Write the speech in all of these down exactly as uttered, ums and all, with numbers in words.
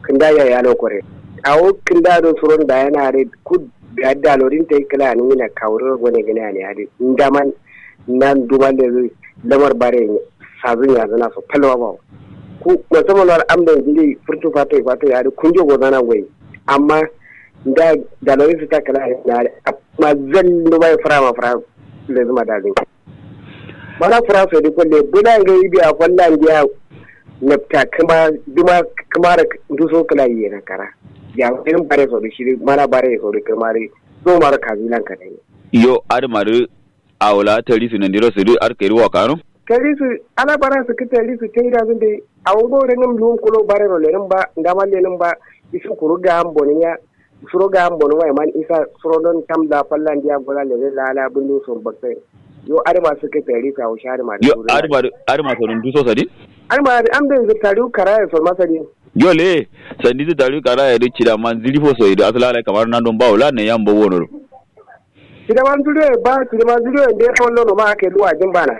kǝnda yayi alokore. Awo kǝnda do suron dayana adǝ kud biya dalorin tai kǝla anǝ mina kawuriro gone gǝne ane adǝ ndaman. Nan duman lezǝ lamar bare sazǝ nyazǝna so palwa bawo. Ku musamman wal amdan jiri furtu fato fato ya adǝ kunjo gozana ngoyi. Amma nda dalorin sǝ ta kǝla ane na adǝ amma zallo bai fura ma fura lezǝ ma dazin. Mana fura so dǝ falle bǝla ngai biya fallan biya nabta kǝma duma kǝma da nduso kǝla yiye na kara. Ya irin bare so dǝ shi dǝ mana bare so dǝ kǝma dǝ so maro kazi lan kadai. Yo adǝ ma dǝ awo la tari su nandiro su dǝ adǝ kairi wa kano. Tari su ala bara su kǝ tari su tai da zun dai. Awo ngo rengǝm luwum kulo bare ro lenǝm ba ndama lenǝm ba. Isu kuru ga am bonin ya suro ga am bonin wa iman isa suro don kam la fallan diya gola lele la ala bundu so baktai. Yo adǝ ma su kǝ tari su awo shi adǝ ma dǝ yo adǝ ma dǝ adǝ ma so dǝ nduso sadin. Adǝ ma dǝ am dai zǝ tari kara ya so ma sadin. Yo le sandi zǝ tari kara ya dǝ cida ma nziri fo so yi dǝ asala alai kamar nan don ba wula ne yam ba wono do. Cida ma nziri yo ba cida ma nziri yo nde ya wallo no ma aka yi luwa jin bana.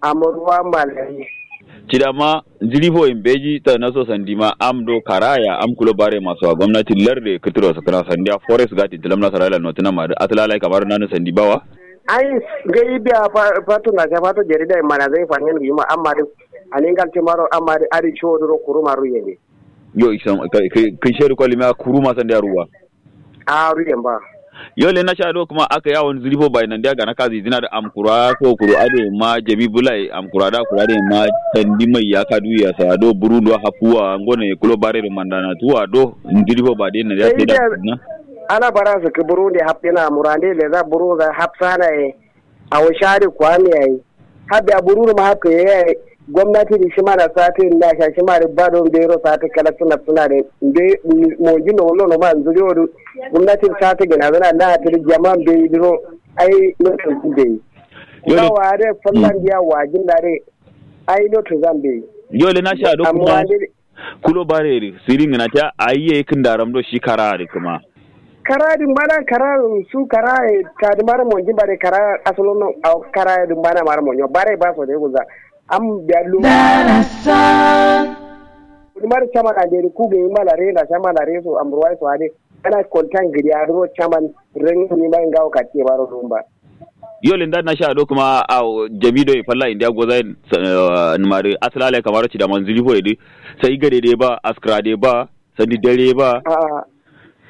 Amurwa malari. Cida ma nziri fo yin beji ta naso sandi ma am do karaya am kulo bare maso a gomnati larde kǝtǝro sǝkǝna sandi a forest gati tǝlam nasara ila notǝna ma dǝ asala alai kamar nan sandi bawa. Ai ngai biya fato na sha fato jarida yin mana zai fanyen gi ma amma dǝ aningal timaro amma dǝ adǝ ciwo dǝ ro kuru maru yende. Yo isam kǝn shedu kwalimiya kuru ma sandi a ruwa. A ruyen ba. Yo le na sha do kuma aka yi awon zuri fo bai nan dia gana kazi zina da amkura so kuru ade ma jami bulai amkura da kura de ma tandi mai ya kadu ya sa do buru do hafuwa ngone kulo bare do mandana tuwa do zuri fo ba de na dia sai da na. Ana bara su ki buru de hapina murande le za buru za hapsana e. Awo shari kwami yayi. Habbe abururu ma hapke yayi. Gomnati di shima na sati nda sha shima di bado mbero sati kala tuna tuna de mbe. Monji no no ma nzuri odu. Gomnati sati gina zana na tiri jama mbe diro. Ai no mbe. Yo. Wa de fallan dia wajin da de. Ai no tuzambe. Yo le na sha do kuma. Kulo bare ri siri ngǝna ta ayi ye kǝndaram do shi kara ri kǝma. Kara din bana kara su kara ye ta di mara monji bare kara asalo no au kara din bana mara monyo bare ba so de guza. Am biya lu. Darasan. Ni mara chama na de ku ge mala re na chama na re so am ruwai so ade. Ana kontan gidi a duro chaman ren ni ma ngawo katiye baro dumba. Yo linda na sha do kuma a jami do falla india goza numari asala lai kamaro ci da manzili fo yedi. Sai gade de ba askra de ba sandi dare ba.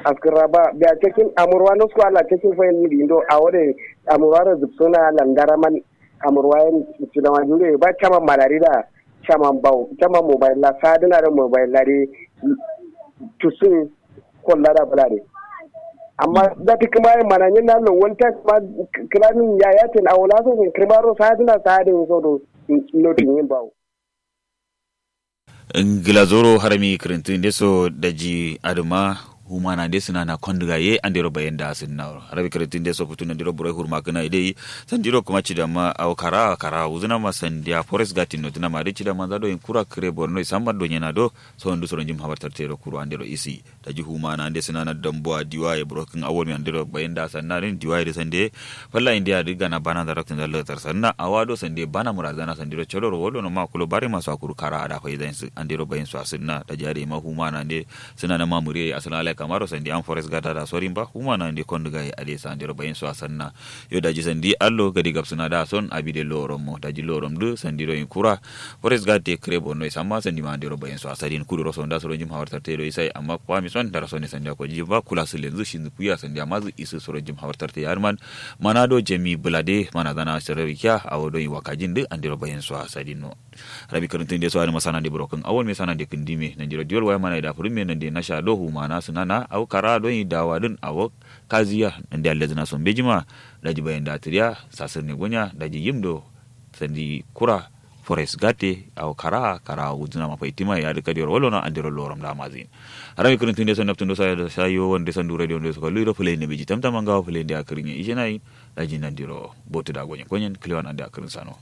Askra ba biya cikin amurwa no su ala cikin fo yedi do a wode amurwa da zubsuna landara man. Amurwa yan ci da manzili ba chaman malari da chaman bau chaman mobile la sadina da mobile la de. Tusun kolla da bǝla de. Amma dati kǝma ye mananyin na lo wal ta kǝma kǝlamin ya yatin awo la so sin kǝrma ro sadǝna sadǝn so do. Notin yin bawo. Ngla zoro harami kǝrǝntǝ nde so daji adǝma. Humana nde sǝna na kondǝga ye andero bayen da sǝnna harami kǝrǝntǝ nde so futu nandiro buroi hurma kǝna ye dai. Sandiro kǝma cidamma awo kara kara wuzǝna ma sandiya forest gatin notǝna ma dai cidamma nza do yin kura kǝre borno ye samma do nyena do. Sondu soro njim habar tarte ro kuru andero isi. Daji humana nde sǝnana dambuwa diwaye burokǝn awolmi andero bayin da sanna din diwaye dǝ sande. Falla indiya dǝ gana bana da raktin da latar sanna awa do sande bana murazana sandiro codoro wolo no ma kulo bare maso akuru kara ada fai zain sǝ andero bayin so asǝnna daji ade ma humana nde. Sǝnana ma muriye asǝna lai kamaro sande am forest gata da sorin ba humana nde kondu gaye ade sa andero bayin so asanna. Yo daji sandi allo gadi gabsǝna da son abi de lorom mo daji lorom dǝ sandiro yin kura. Forest gate kǝre borno ye samma sandima andero bayin so asadin kuduro sonda soro njim hawar tarte do isai amma kwami son dara sone sandiya ko jijin ba kula sǝ lenzǝ shinzǝ kuya sandiya mazǝ isǝ soro njim hawar tarte ye adǝman. Mana do jami bǝla de mana zana sirari kiya awo do yin wakajin dǝ andero bayin so asadin no. Rabi kǝrǝntǝn de so adǝma sanande burokǝn awon me sanande kǝndime nandiro diwol waya mana ye da fǝrǝm me nande nasha do humana sǝnana awo kara do yin dawa dǝn awo. Kaziya nande allezǝna so mbejima. Daji bayin da tǝriya sasǝrne gonya daji yim do. Sandi kura forest gate awo kara'a kara'a wuzǝna ma faitima ye adǝ kadiyoro wallono andero lorom da mazǝ yin. Harami kǝrǝntǝ nde so naptǝ ndo sayo wande sandu radio ndo so kallu yiro fǝlai nde beji tamtama ngawo fǝlai nde akǝrǝnye ishena yin. Daji nandiro botu da gonyen gonyen kǝlewan ande akǝrǝn sano.